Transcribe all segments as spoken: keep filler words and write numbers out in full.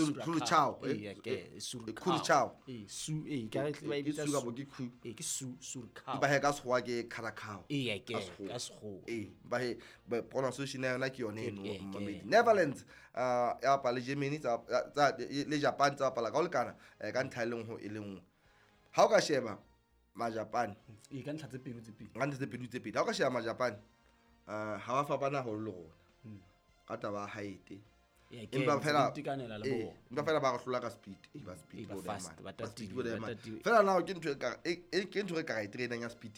Suricao eh ke Suricao Curacao eh su eh ka re ba ke bitsa su kapa ke khu eh ke su Suricao ba he ka sekgowa ke Curacao eh ke Ka sekgowa. ka sekgowa ee ba he ba- pronunciation ya yona ke yone eno Ke- ke- mmamedi ke. Netherlands uh ya bapala le Germany tsa tsa le Japan tsa bapala ka ho lekana eh, ka ntlha e le nngwe e le nngwe ha o ka sheba majapane eh ka ntlha tse pedi tse pedi ka ntlha tse pedi tse pedi ha o ka sheba majapane uh ha ba fapana haholo le rona ka taba ya height Eh, ke empa ntse fela di itekanela le eh, bona. empa fela ba re hlola ka speed Eh, ba speed Eh, ba bo fast, man. ba Ba speed tatile, bo ba man. tatile. Fela now ke ntho e ka e e- ke ntho e ka ra e trainang ya speed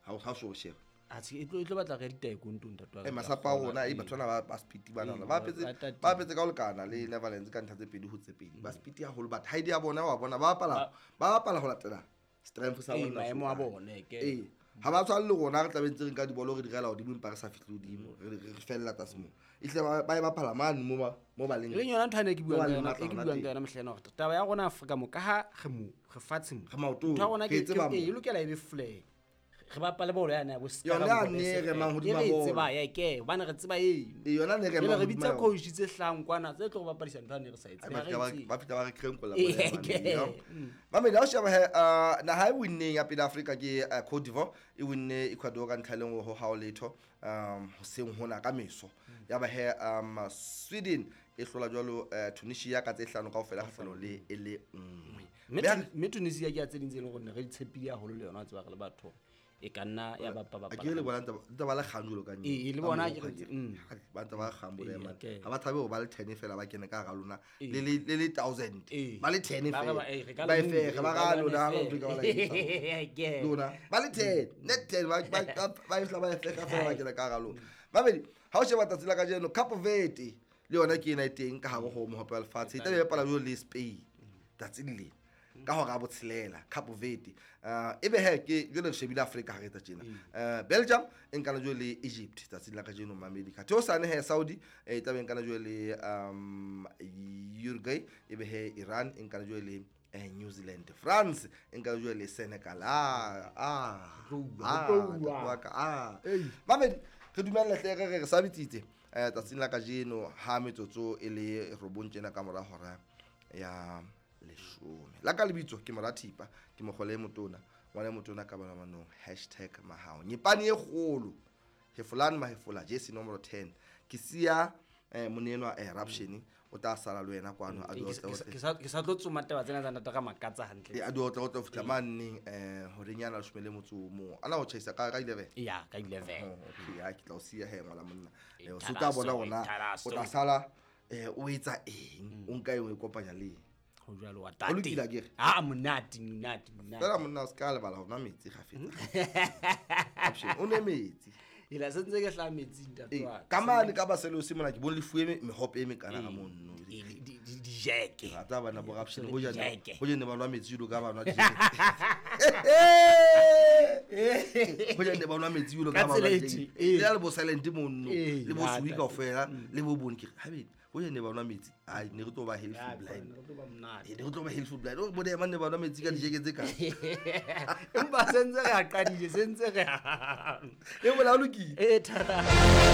ha o ha o so sheba a se e tlo e tlo batla re ditaekwondo ntate wa ka e masapo a rona e batho bana ba ba speed bana Ee, ba ba- apetse ba tatile. ba apetse ka ho lekana le Netherlands ka ntlha tse pedi ho tse pedi ba speed haholo but height ya bona wa bona ba bapala ba bapala ho latela strength sa Ee, bona maemo a so kae. bone, ke. ee ha ba tshwane le rona re tlabe ntse re nka dibolo re di rela hodimo empa re sa fihle hodimo re re fella tlase moo ehlile ba ba e bapala mane mo ba mo ba leng e leng yona ntho ane ke mo ba buang ka leng yona matla e ke hona buang teng. ka yona mehleng hore taba ya rona Afrika mo ka ha re mo re fatshe mo Re maotong, ntho ya rona re ke e tseba ke- mo. e lokela e be flair re bapale bolo yane ya bo Yona yane e remang hodima e re e bolo. tseba ya ke hobane re tseba eno Ee, yona ne e remang Jwale re hodima bitsa yona. coach tse hlahang kwana tse tlo re bapadisa ntho ane re sa e Ai, tsebe ba Ha re fihla ba- e tsebe. ba fihla ba re krenkola Ee, bolo ya ke. mane, yo. Mamedi, ha o sheba he, uh, naha e winneng ya pele Afrika ke uh, Cote d'Ivoire e winne Ecuador ka ntlha e le nngwe ho hao letho um hoseng hona ka meso ya ba he um Sweden e hlola jwalo uh, Tunisia ka tse hlano kaofela kgahlanong le e le nngwe Mme Mme ha Tun- mme Tunisia ke ya tse ding tse leng hore ne re di tshepile haholo le yona wa tseba re le batho e ka nna ya bapa a ke le bona ntse ba- ntse ba le kgang jwalo ka Ee, le bona ke re- mm. ba ntse ba kgang bolo ya Ee, mane. okay. Ha ba thabe ho ba le ten fela ba kene ka hara lona Ee. le le le le thousand Ee. ba le ten Ba re fela ba- ee, re ka ba e le fege ba move, ra re ka lona ha le ba utlwe ka ba la etsa. Ke. Lona ba le ten net ten ba ba ba- ba e fihla ba e fega fela ba kena ka hara lona babedi ha o sheba tsatsi la kajeno Cape Verde le yona ke ena e teng ka hare ho mohope wa lefatshe e tlabe e bapala jwalo le Spain tsatsing lena ka hora ya botshelela Cape Verde uh, ebe he ke jwale re shebile Afrika ha re etsa tjena uh, Belgium e nkana jwale le Egypt tsatsing la kajeno mamedi ka theosane he Saudi eh, e tlabe e nkana jwale le um Uruguay ebe he Iran e nkana jwale le eh, New Zealand France e nkana jwale le Senegal ah ah Tlouwa, ah, tlouwa. ntate wa ka, ah mamedi re dumella hle re re re sa bitsitse eh tsatsing la kajeno ha metsotso e le robong tjena ka mora hora ya leshome la ka lebitso ke mora thipa ke mokgole e motona ngwana e motona ka bana manong hashtag mahao nyepane e kgolo hefolane mahefola jesi nomoro ten ke siya eh monenwa eh eruption o tla sala le wena kwano a Ee, di ke otle sa- otle ke sa- ke sa tlo tsoma taba tsena tsa ntate ka makatsa hantle e a di otle otle ho fihla maneng eh horeng yana leshome le motso o mong ana o tjhaisa ka ka eleven ya ka eleven Oh, okay ha ke tla o siya he ngwana monna E Eh, o se o tla bona thalasso, hore na e thalasso. o tla sala eh o etsa eng o nka eng o e kopanya le eng ho jwalo wa Ho tate lokile akere? ah monate monate monate fela monna o se ka lebala ho nwa metsi kgafetsa Option, o nwe metsi ela se ntse ke hlaha metsing ntate Ee, wa ka. ka mane ka baselosi mona ke bone le fuwe me- mehope e mekana ka mono Ee, di- di- di- dijeke rata bana bo raption Le dijeke. ho jane ba nwa metsi jwalo ka ba nwa dijeke ho jane ba nwa metsi jwalo ka Ka ba nwa tsela e dijeke. tje, ee. Le ha le bo silent monno Ee, le bo ya, sui tate. kaofela le bo bone ke re habedi ho jane ba nwa metsi ai ne re tlo ba healthy Ya, blind re tlo ba monate. Eh, ne re tlo ba healthy blind o bone ema ne ba nwa metsi ka dijeke tse ka Empa se ntse re a qadile se ntse re a e bola o lokile e thata.